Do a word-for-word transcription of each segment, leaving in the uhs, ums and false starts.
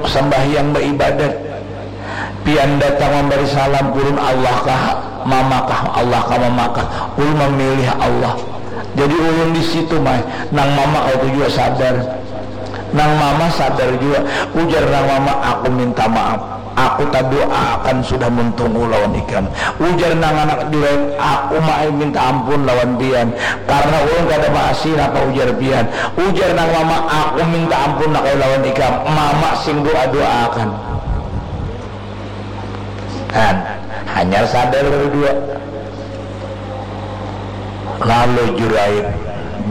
sambahyang baibadat, pian datang mambari salam, ulun Allah kah, mama kah, Allah kah, mama kah? Ulun mamilih Allah. Jadi ulun di situ, mai, nang mama kaitu jua sadar. Nang mama sadar jua. Ujar nang mama, "Aku minta maaf. Aku taduaakan sudah muntungku lawan ikam." Ujar nang anak Juraid, "Aku, mai, minta ampun lawan pian. Karena ulun kada maasi napa ujar pian." Ujar nang mama, "Aku minta ampun nang ai lawan ikam. Mama sing dua-duaakan." Kan, hanyar sadar dua. Lalu Juraid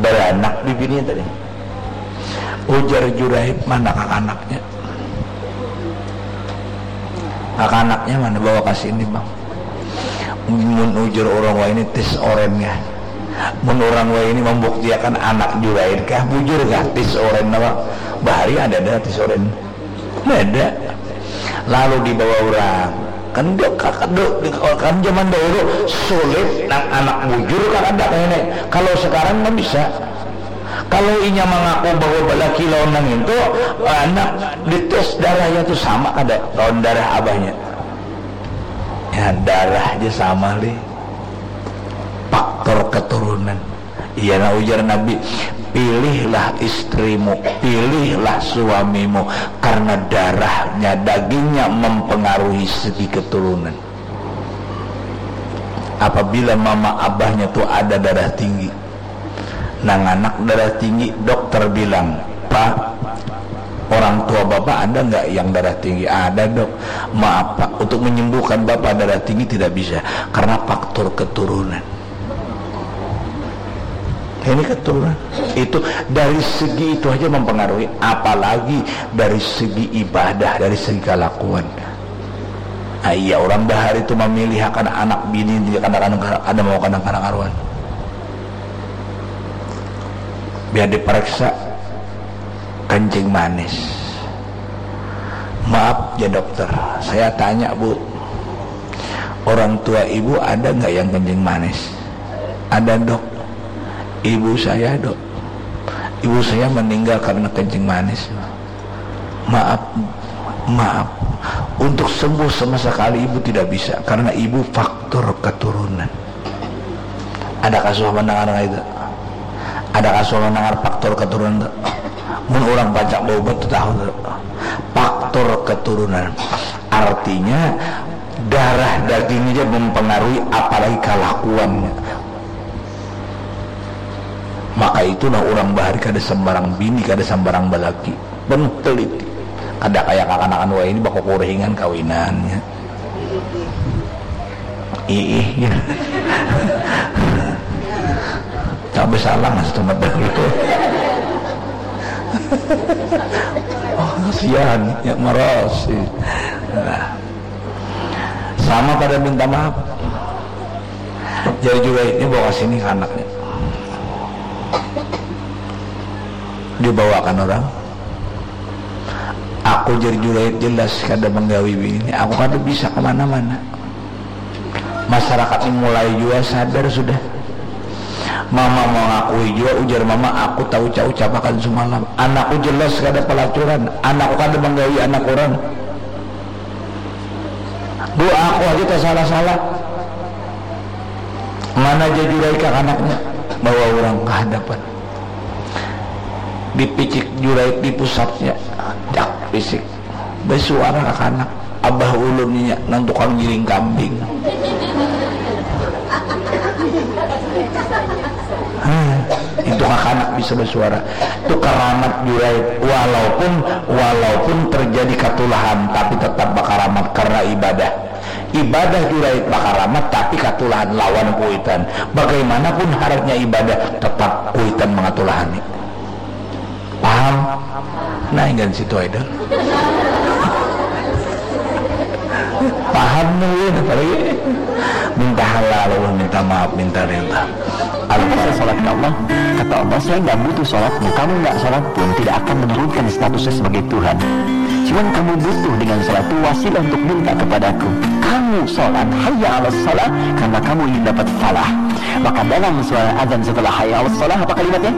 baranak bibininya tadi. Ujar Juraid, "Mana kakanaknya? Kakanaknya mana? Bawa ka sini, Bang." Mun ujar urang wahini tis oren kah? Mun urang wahini mambuktiakan anak Juraid kah? Bujur kah tis oren napa? Bahari ada dah tis oren. Beda. Lalu dibawa urang. Kan dia kakadu, kan zaman dahulu sulit nang anak bujur kakada kaya ini. Kalau sekarang kan bisa. Kalau inya mangaku bahwa balaki lawan nang itu, anak dites darahnya tu sama kada lawan darah abahnya. Ya, darah aja sama, Li. Faktor keturunan. Iya, nah, ujar Nabi, "Pilihlah istrimu, pilihlah suamimu, karena darahnya, dagingnya mempengaruhi segi keturunan." Apabila mama abahnya tu ada darah tinggi, nang anak darah tinggi, dokter bilang, "Pak, orang tua bapak ada nggak yang darah tinggi?" "Ada, Dok." "Maaf, Pak, untuk menyembuhkan bapak darah tinggi tidak bisa, karena faktor keturunan." Ini keturunan. Itu dari segi itu aja mempengaruhi, apalagi dari segi ibadah, dari segi kalakuan. Ah, iya, orang bahari itu memilihakan anak bini, dia kada, kada, kada mau kada karuan. Biar diperiksa kencing manis. "Maaf ya, Dokter, saya tanya, Bu, orang tua Ibu ada nggak yang kencing manis?" "Ada, Dok. Ibu saya, Dok. Ibu saya meninggal karena kencing manis." "Maaf, maaf. Untuk sembuh sama sekali Ibu tidak bisa, karena Ibu faktor keturunan." Ada kasuah mendengar itu? Ada kasuah mendengar faktor keturunan tu? Mun orang pacak baubat tu tahu tu. Faktor keturunan. Artinya, darah daging aja mempengaruhi, apalagi kalakuannya. Maka itulah orang bahari kada sembarang bini, kada sembarang balaki. Penuh teliti. Kada kaya kakanakan wahini bakukuringan kawinannya. Iih, ya. Tapi salah mas teman dulu. Oh, kasihan, ya, maros. Nah. Sama pada minta maaf. Jadi Juraid ini bawa sini ke anaknya. Dibawakan orang. Aku, jar Juraid, jelas kada menggawi bini. Aku kada bisa kemana-mana. Masyarakat ini mulai jua sadar sudah. Mama mengakui jua, ujar mama, aku tahu ucap-ucapakan semalam. Anakku jelas kada pelacuran. Anakku kada menggawi anak orang. Doa aku aja tersalah-salah. Mana aja Juraid kakanaknya, bawa orang ke hadapan. Dipicik Juraid di pusatnya, dak pisik. Bersuara kakanak, abah ulun inya nang tukang giring kambing. Hah, itu kakanak bisa bersuara. Itu karamat Juraid. Walaupun, walaupun terjadi katulahan, tapi tetap bakaramat karena ibadah. Ibadah Juraid bakaramat, tapi katulahan lawan kuitan. Bagaimanapun haratnya ibadah, tetap kuitan mengatulahani. Paham? Nah, ingin situ aja. Paham nih, apa lagi? Minta halal, minta maaf, minta rela. Al-Quran. Saya sholat ke Allah, kata Allah, "Saya nggak butuh sholatmu. Kamu nggak sholat pun tidak akan menurunkan statusnya sebagai Tuhan. Cuman kamu butuh dengan sholat itu wasilah untuk minta kepadaku. Kamu sholat, hayya ala sholat, karena kamu ingin dapat falah." Maka dalam suara azan setelah hayya ala sholat, apa kalimatnya?